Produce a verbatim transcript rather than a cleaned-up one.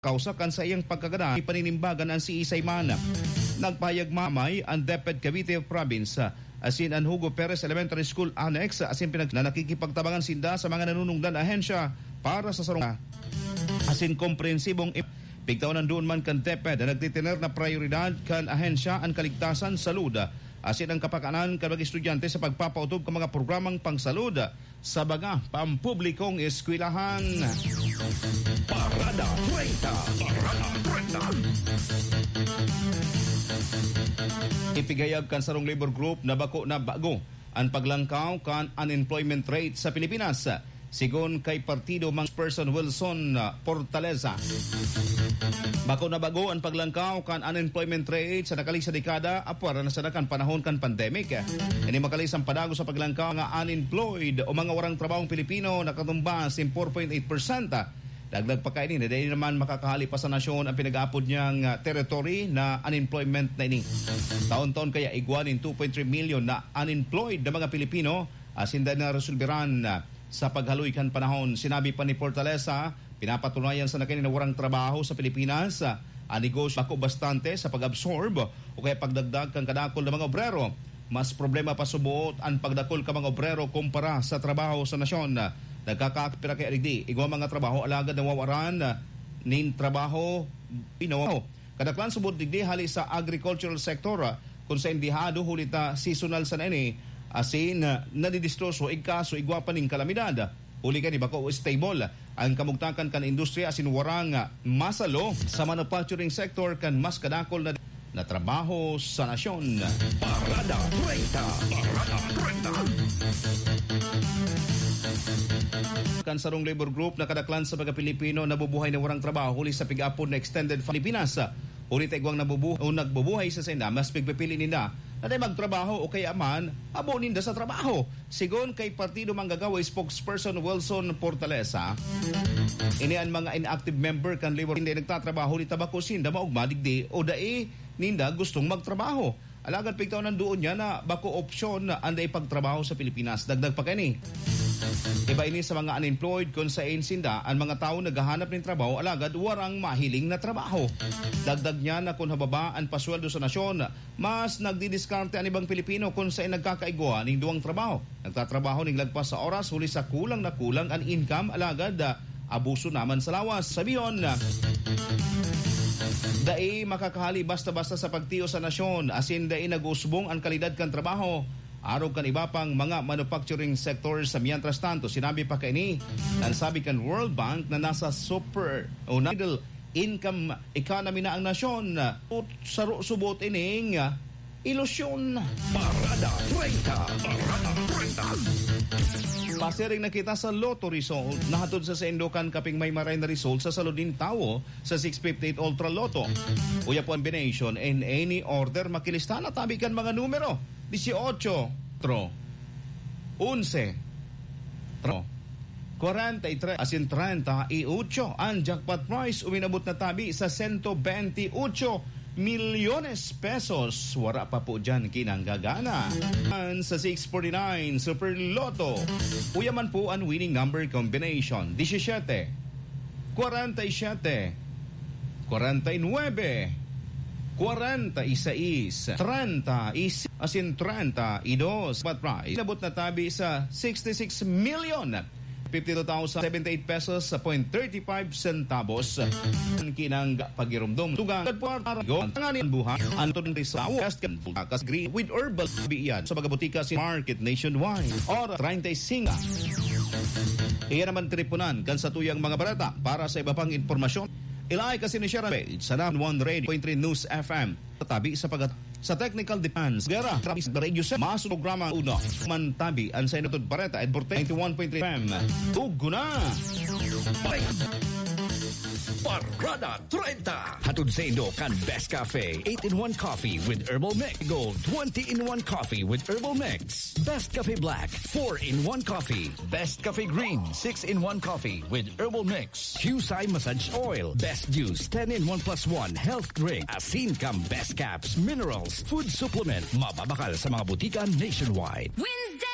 kausa kan saiyang pagkagadan, ipaninimbagan an siisay man. Nagpahayag mamay an DepEd Cavite Province, asin an Hugo Perez Elementary School Annex, asin pinag-, na nakikipagtabangan sinda sa mga nanunungdan ahensya para sa sarong asin komprehensibong im-, pigtaon nandoon man kan DepEd na nagtitener na prayoridad kan ahensya an kaligtasan, salud, asin ang kapakanan kan mga estudyante sa pagpapautob kan mga programang pangsalud sa mga pampublikong eskwelahan. Parada treinta. Parada treinta. Ipigayag kan sarong labor group na bako na bago an paglangkaw kan unemployment rate sa Pilipinas. Sigon kay Partido, Mang Person Wilson, ah, Portaleza, bako na bago an paglangkaw kan unemployment rate sa nakaligsa dekada, apwera na sana kan panahon kan pandemic. Ini makalisang padago sa paglangkaw nga unemployed o mga warang trabahong Pilipino, nakatumba sin four point eight percent. Dagdag pa kaini na dai naman makakahali pa sa nasyon ang pinag-aapod niyang, ah, territory na unemployment na ini. Taon-taon kaya igwa nin two point three milyon na unemployed na mga Pilipino, asin dai na resolberan, ah, sa paghaloy kan panahon. Sinabi pa ni Portaleza, pinapatunayan sana kaini na warang trabaho sa Pilipinas, ah, an negosyo bako bastante sa pag-absorb o kaya pagdagdag kan kadakul na mga obrero. Mas problema pa suboot an pagdakul kan mga obrero kumpara sa trabaho sa nasyon. Nagkakapira kaya digdi, igwa mga trabaho alagad nawawaran nin trabaho, pinawaw. Kadaklan suboot digdi hali sa agricultural sector, kun saen dihado huli ta seasonal sana ini, asin, ah, nadidistroso igkaso igwa pa nin kalamidad. Huli kan bako stable ang kamugtakan kan industriya asin warang, ah, masalo sa manufacturing sector kan mas kadakul na, na trabaho sa nasyon. Parada treinta. Parada treinta. Kan sarong labor group na kadaklan sa mga Pilipino nabubuhay na warang trabaho huli sa pig-apod na extended fa-, Pilipinas. Huli ta igwang nabubu-, o nagbubuhay sa sainda, mas pigpipili ninda na dai magtrabaho o kaya man abo ninda sa trabaho. Sigon kay Partido Manggagawa spokesperson Wilson Portalesa, ini an mga inactive member kan labor, hindi nagtatrabaho ni tabako sinda maogma digdi o dai ninda gustong magtrabaho. Alagad pigtaw nandoon niya na bako opsyon an dai pagtrabaho sa Pilipinas. Dagdag pa kaini, iba ini sa mga unemployed kun sain sinda an mga tawo naghahanap nin trabaho alagad warang mahiling na trabaho. Dagdag niya na kun hababa an pasweldo sa nasyon, mas nagdidiskarte an ibang Pilipino kun sain nagkakaigwa nin duwang trabaho. Nagtatrabaho nin lagpas sa oras huli sa kulang na kulang an income, alagad, ah, abuso naman sa lawas. Sabihon, ah, dai makakahali basta-basta sa pagtiyo sa nasyon, asin dai nag-usbong an kalidad kan trabaho arog kan iba pang mga manufacturing sector. Sa mientras tanto, sinabi pa kaini, an sabi kan World Bank na nasa super o na middle income economy na ang nasyon. Saro-, subot ining, ah, ilusyon. Parada treinta. Parada treinta. Pasiring na kita sa Lotto result na hatod sa saindo kan kaping may maray na result sa salud nin tawo sa six fifty-eight Ultra Lotto. Uya po ang combination in any order makilista na tabi kan mga numero. Dieciocho, tro, onse, tro, kwarenta y tres asin treinta y ocho. Ang jackpot prize uminabot na tabi sa sento benti ocho milyones pesos. Wara pa po diyan kinanggagana. Sa six forty-nine Super Lotto, uya man po ang winning number combination: diecisiete, kwarenta y siete, kwarenta y nuebe, kwarenta y seis, treinta y seis, asin treinta y dos. Jackpot prize, inabot na tabi sa sixty-six million fifty-two thousand seventy-eight pesos sa point thirty-five centavos. Kinang pagirumdom tugang at puwarta rago ang tanganing buhay. Ang tunay sa tawo, kas kan bultakas gri with herbal biyan sa mga butika si Market nationwide. Oras treinta y cinco. Iyan naman tinipunan kan satuyang mga bareta. Para sa iba pang impormasyon, ilay kasi ni Sharon Page sa One Radio point three News F M. Tabi sa pag-, sa technical defense, gera, trapis, radio sa mas programa uno. Mantabi ang sa inutod bareta at Borte ninety-one point three F M. Tugo na! Parada treinta. Hatod saindo kan Best Cafe, eight-in-one Coffee with Herbal Mix. Gold, twenty-in-one Coffee with Herbal Mix. Best Cafe Black, four-in-one Coffee. Best Cafe Green, six-in-one Coffee with Herbal Mix. Qsai Massage Oil, Best Juice, ten-in-one plus one Health Drink. Asin kan Best Caps, Minerals, Food Supplement. Mababakal sa mga butika nationwide. Wednesday!